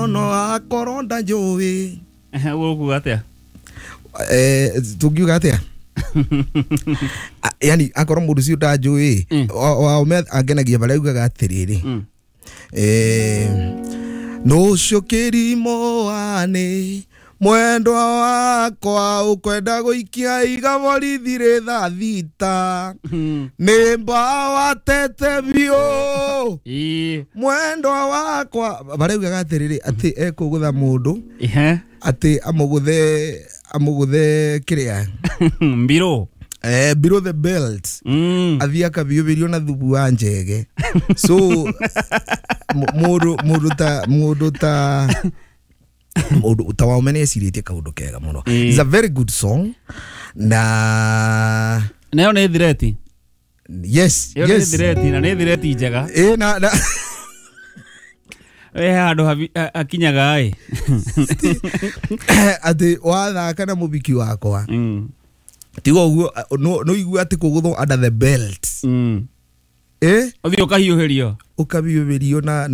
No akorwo ndanjũĩ. Ehe, ũkuga atĩa? Tungiuga atia? Yani akorwo mũndũ ũcio ndanjũĩ, Waume angenagia barĩa augaga atĩrĩrĩ, nũcio kĩrimũ wanĩ mwendwa wakwa ũkwenda gũikia iga borithi rĩ thaa 6, nĩ mbawa tete biũ. Mwendwa wakwa barĩa augaga atĩrĩrĩ, atĩ ekũgũtha mũndũ, atĩ amũgũthe, amũgũthe kĩrĩa? Mbirũ. Below the belt. Athiĩ akabiũbĩrio na thubu wa njege. So mũndũ ta Waume nĩ ecirĩtie kaũndũ kega mũno. It's a very good song na Nayo nĩ thireti. Yes. Ĩyo nĩ Yes. thireti, na nĩ thireti njega. Ĩ na He handũ hakinyaga ĩ. Atĩ wathaka na mũbiki wakwa, tiga ũguo no igue atĩ kũgũthwo under the belt. Ĩ. Ũthiĩ ũkahiũhĩrio. Ũkabiũbĩrio na